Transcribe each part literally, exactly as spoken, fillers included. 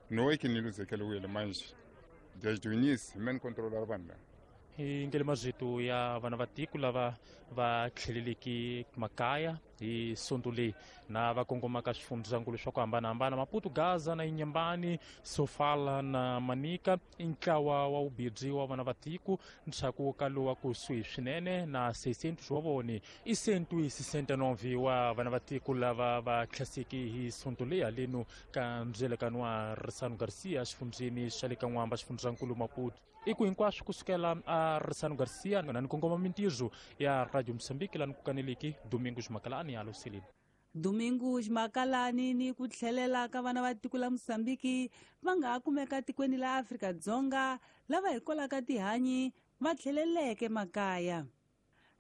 Não é que ni luzekeliwile manje desde o início me controlar vanhu lava. Hi ngele mazito ya vana va tiko lava va tlheleleki makaya hi sonto leyi na va kongomaka swifundzankulu swa ku hambanahambana Maputo, Gaza na Inhambane, Sofala na Manica i ntlawa wa vubirhi wa vana va tiko ndzhaku ka lowa kusuhi swinene na seiscentos wa vone i cento e sessenta e nove wa vana va tiko lava va tlhaseki hi sonto leyi haleno ka ndzelekano wa Ressano Garcia xifundzeni xa le ka N'wamba xifundzankulu Maputo. I ku hinkwaswo kusukela a Ressano Garcia na ni kongoma mintirho ya Radio Mozambique lani ku kaneleki Domingos Makalani alo Seleni. Domingos Makalani ni ku tlhelela ka vana va tiko la Mozambique va nga ha kumeka tikweni la Afrika-Dzonga lava hikwalaho ka tihanyi va tlheleleke makaya.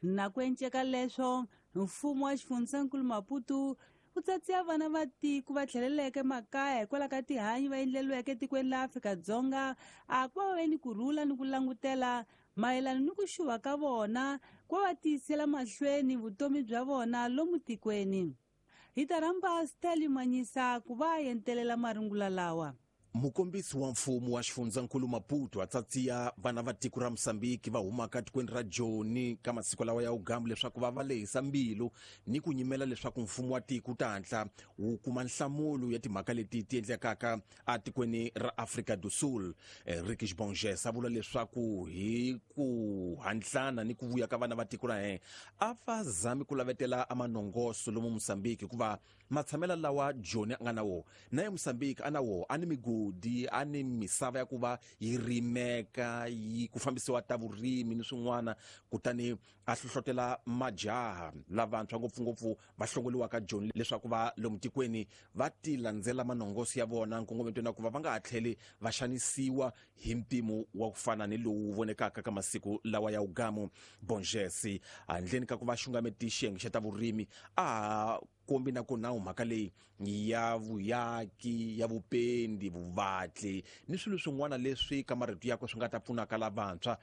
Na ku enceka leswo mfumo wa xifundzankulu Maputo wu tsatsiya vana va tiko va tlheleleke makaya hikwalaho ka tihanyi va endleliweke tikweni la Afrika-Dzonga a ku va va ve ni kurhula ni ku langutela mayelana ni ku xuva ka vona ku va va tiyisela mahlweni vutomi bya vona lomu tikweni. Hi ta rhamba Stanley Manyisa ku va entelela marungula lawa. Mukombisi wa mfumo wa xifundzankulu Maputo a tsatsiya vana va tiko ra Mozambique va humaka tikweni ra Joni ka masiku lawa ya ugambu leswaku va va lehisa mbilu ni ku nyimela leswaku mfumo wa tiko wu ta hatla wu kuma nhlamulo ya timhaka leti ti endlekaka atikweni ra Afrika do Sul. Henrique Bonges a vula leswaku hi ku hantlana ni ku vuya ka vana va tiko ra yena a va zami ku lavetela a manongoso lomu Mozambique hikuva matshamela lawa Joni a nga na wona na ye Mozambique a na wona a ni migodi a ni misava ya ku va yi rimeka yi ku fambisiwa ta vurimi ni swin'wana, kutani a hlohlotela majaha lavantshwa ngopfungopfu va hlongoliwaka Joni leswaku va lomu tikweni va ti landzela manongoso ya vona nkongometweni wa ku va va nga ha tlheli va xanisiwa hi mpimo wa ku fana ni lowu vonekaka ka masiku lawa ya ugamu. Bonges handleni ka ku va xungameti xiyenge xa ta vurimi a kombi na ku nawu mhaka leyi ya vuyaki ya vupendi vuvatli ni swilo swin'wana leswi ka marito yakwe swi nga ta pfunaka lavantshwa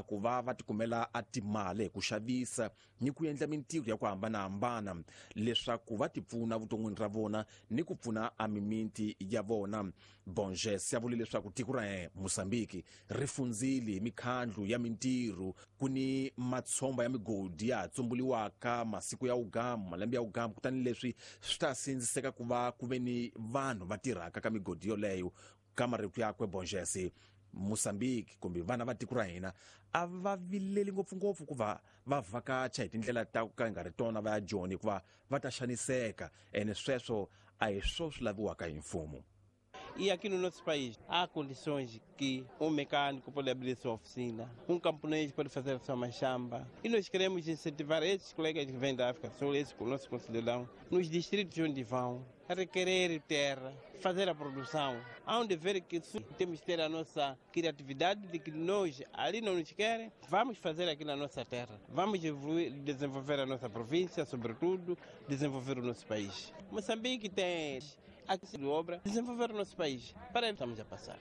ku va va tikumela a timali hi ku xavisa ni ku endla mintirho ya ku hambanahambana leswaku va tipfuna vuton'wini ra vona ni ku pfuna a mimiti ya vona. Bonges ya vule leswaku tiko ra Mozambique ri fundzile hi mikhandlu ya mintirho ku ni matshomba ya migodi ya ha tsumbuliwaka masiku ya ugamu malembe ya ugamu, kutani leswi swi ta sindziseka ku va ku ve ni vanhu va tirhaka ka migodi yoleyo. Ka marito yakwe Bonges, Mozambique kumbe vana va tiko ra hina a va vileli ngopfungopfu ku va va vhakacha hi tindlela ta ku ka nga ri tona va ya Joni hikuva va ta xaniseka ene sweswo a hi swo swi laviwaka hi mfumo. E aqui no nosso país há condições que um mecânico pode abrir sua oficina, um camponês pode fazer sua machamba. E nós queremos incentivar esses colegas que vêm da África do Sul, esses nossos concidadãos, nos distritos onde vão, a requerer terra, fazer a produção. Há um dever que temos que ter a nossa criatividade de que nós, ali não nos querem, vamos fazer aqui na nossa terra. Vamos evoluir, desenvolver a nossa província, sobretudo, desenvolver o nosso país. Moçambique tem a obra, desenvolver o nosso país. Para aí estamos a passar.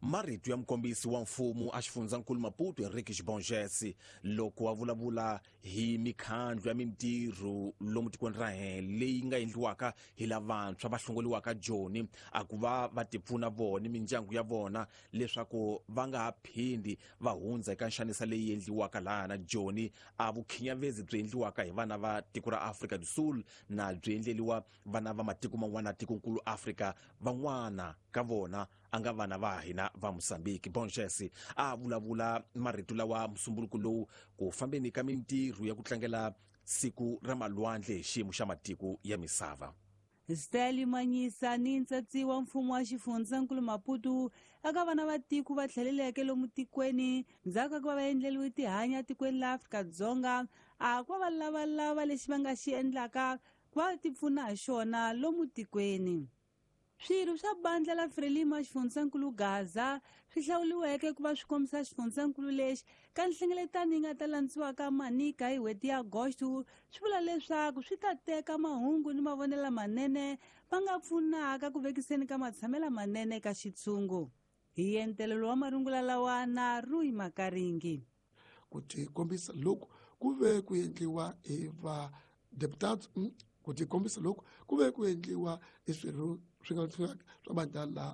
Marito ya mukombisi wa mfumo a xifundzankulu Maputo Henrique Bonges loko a vulavula hi mikhandlu ya mintirho lomu tikweni ra hina leyi nga endliwaka hi lavantshwa va hlongoliwaka Joni a ku va va tipfuna vona mindyangu ya vona leswaku va nga ha phindi va hundza eka nxanisa leyi endliwaka laha na Joni a vukhinyavezi byi endliwaka hi vana va tiko ra Afrika do Sul na byi endleliwa vana va matiko man'wana tikonkulu Afrika van'wana ka vona a nga vana va hina va Mozambique. Bonges a vulavula marito lawa musumbuluko lowu ku fambeni ka mintirho ya ku tlangela siku ra malwandle hi xiyimo xa matiko ya misava. Stanley Manyisa ni ntsatsi wa mfumo wa xifundzankulu Maputo aka vana va tiko va tlheleleke lomu tikweni ndzhaku ka ku va va endleliwe tihanya tikweni la Afrika-Dzonga a ku va va lavalava lexi va nga xi endlaka ku va tipfuna hi xona lomu tikweni. Swirho swa bandla la Frelimo xifundzankulu Gaza swi hlawuriweke ku va swi kombisa xifundzankulu lexi ka nhlengeletano yi nga ta landziwaka Manica hi n'hweti ya Agosto swi vula leswaku swi ta teka mahungu ni mavonelo lamanene va nga pfunaka ku vekiseni ka matshamelo manene ka xitshungu. Hi entelelo wa marungula lawa na Rui Makaringi. Ku tikombisa loku ku ve ku endliwa hi va deputados ku tikombisa loku ku ve ku endliwa hi swirho swi nga swa bandla la